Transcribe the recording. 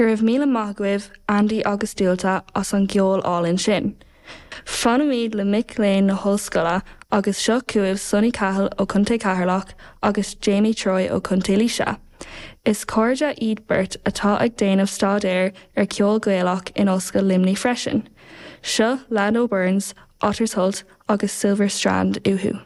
Go raibh míle maith agaibh, Andy agus Dualta, as an gceol álainn sin. Fanaimid le mic léinn na hollscoile agus seo chugaibh Sonny Cahill ó Chontae Cheatharlach agus Jamie Troy ó Chontae Laoise. Is cairde iad beirt atá ag déanamh staidéir ar cheol Gaelach in Ollscoil Luimnigh freisin. Seo Lando Burns, Otters Holt agus Silver Strand uathu.